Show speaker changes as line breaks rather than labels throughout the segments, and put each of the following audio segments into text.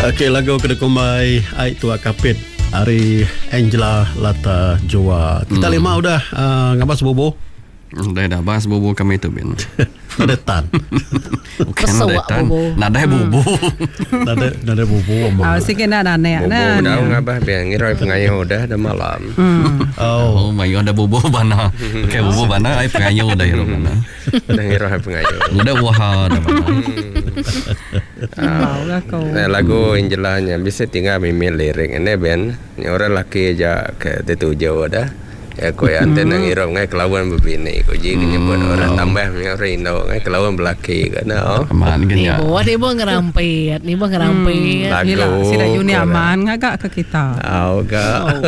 Okey lagu ke dikumbai Ai Tua Kapit ari Angela Lata Jua. Kita lima udah uh, ngabas bubu.
Udah dah bas bubu kami tu bin.
Nadai tan.
Bukan nadai
Pesuk
tan.
bubu.
Nadai bubu.
Nadai nadai bubu ambo.
Ah, sigi enda nanek
Bubu
nah.
bedau ngabah biar ngirai pengayu udah dah malam.
Oh.
Oh, mayuh ada bubu bana. Okey bubu bana ai pengayu dah irup bana.
Udah ngirai pengayu.
Udah uha dah bana.
Bau lah ko.
Nah, lagu Angela nya bisi tinggal mimit lirik nya ben. Nya orang laki aja ke dituju dah. Ya ku iya enti nang irup ngai kelaun bebini ku ji ke nyebut orang tambah mih orang indu ngai kelaun belaki ka ne oh.
Amat ga nya.
Nibuh nibuh ngerampit, nibuh ngerampit.
Lagu
Ila sida Juni
ku dah.
Aman ngaga ke kita.
Au ga.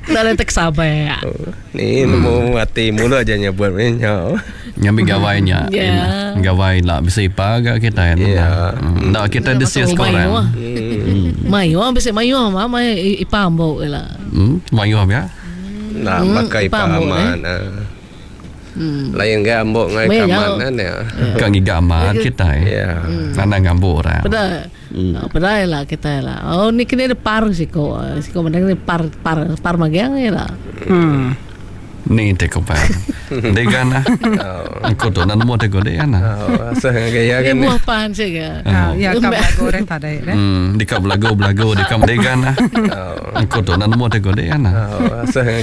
Enda letek sabak.
Ni nemu ati mulut aja nyebut mih nya.
Ngambi gawai nya.
Ya.
Gawai ila bisi ipa ga kitai anu
Ya.
Enda kitai disia sekorang.
Mayuh bisi mayuh ma mai ipa ambo ila.
Hmm, mayuh pia.
Nah,
Hmm,
baka
ipa
ipa
ambo
aman. Lain ga ambo ngai
Meh
kaman ne.
Ka ngiga aman kitai.
Ya.
Anang ngambo orang.
Peda peda ila kitai ila. Oh ni kini par siko. Siko mending ni par par par magang ila.
Hmm.
Ni te ko pa. Dega na. Aku tu na nemu te ko dega na.
Oh, asal ngagai ya kan.
Ni buah pan sik
Ah, ya ka belagu orang tadi deh.
Hmm, dika belagu belagu dika dega na. Aku tu na nemu te ko dega na.
Oh, asal.